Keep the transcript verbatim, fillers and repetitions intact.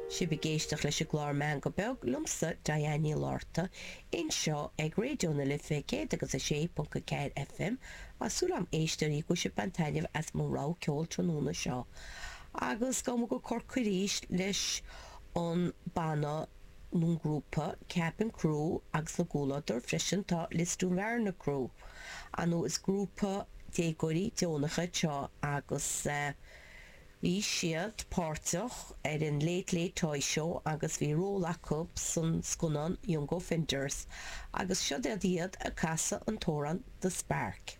Sibh ag éisteacht leis an gclár Meangadh Beag liomsa Diane Ní Lorta anseo ag Raidió na Life céad agus a sé ponc a ceathair FM Tá súil agam a éisteoirí go bhfuil sibh ag baint taitneamh as mo rogha ceoil tráthnóna seo. Agus gabhfaidh muid go Corcaigh arís leis an banna nó an grúpa Cabin Crew agus ina gcomhluadar freisin tá Lisdoonvarna Crew. Ar ndóigh is grúpa déagóirí deonacha seo agus eh, Bhí siad páirteach ar an Late Late Toy Show agus bhí ról acu san scannán Young Offenders, agus seo iad ag casadh an t-amhrán The Spark.